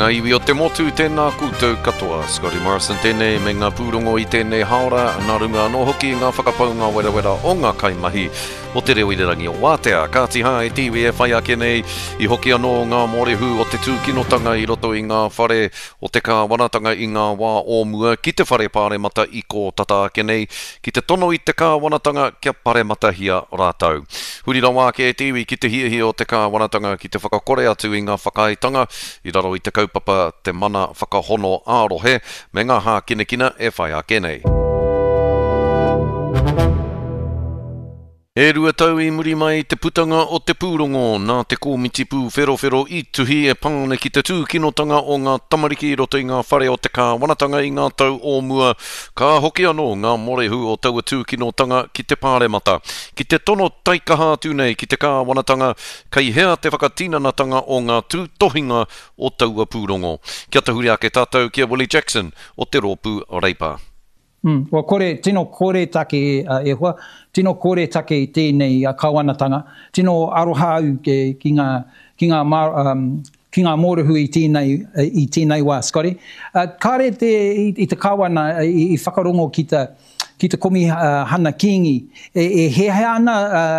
ngā iwi o te motu, tēnā koutou katoa. Scotty Morrison tēnei me ngā pūrongo i tēnei haora, nā runga anō hoki i ngā whakapaunga werawera o ngā kaimahi o te reo irirangi o Wātea. Kāti hā e te iwi e whai ake nei, i hoki anō ngā mōrehu o te tūkinotanga i roto i ngā whare o te kāwanatanga i ngā wā o mua ki te whare pāremata i kō tata ake nei, ki te tono i te kāwanatanga kia parematahia rātou. Huri rawa ake e te iwi ki te hiahia o te kāwanatanga ki te whakakore atu i ngā whakaaetanga i raro i te kaupapa Te Mana Whakahono ā-Rohe me ngā hākinakina e whai ake nei. E rua tau i muri mai i te putanga o te pūrongo nā te Kōmiti Pūwherowhero i tuhi e pā ana ki te tūkinotanga o ngā tamariki i roto i ngā whare o te kāwanatanga i ngā tau o mua, ka hoki anō ngā morehu o taua tūkinotanga ki te Pāremata, ki te tono taikaha atu nei ki te kāwanatanga kei hea te whakatinanatanga o ngā tūtohinga o taua pūrongo. Kia tahuri ake tātou ki a Willie Jackson o te Rōpū Reipa. Mm, kua kore, tino kore take e hoa, tino kore take i tēnei kawanatanga, tino aroha au ki ngā, ki ngā, um, ki ngā mōrehu i tēnei, i tēnei wā, Scotty. Uh, kāre te, i, i te kawana i, i whakarongo ki te, ki te komihana Kīngi, e, e hehea ana uh,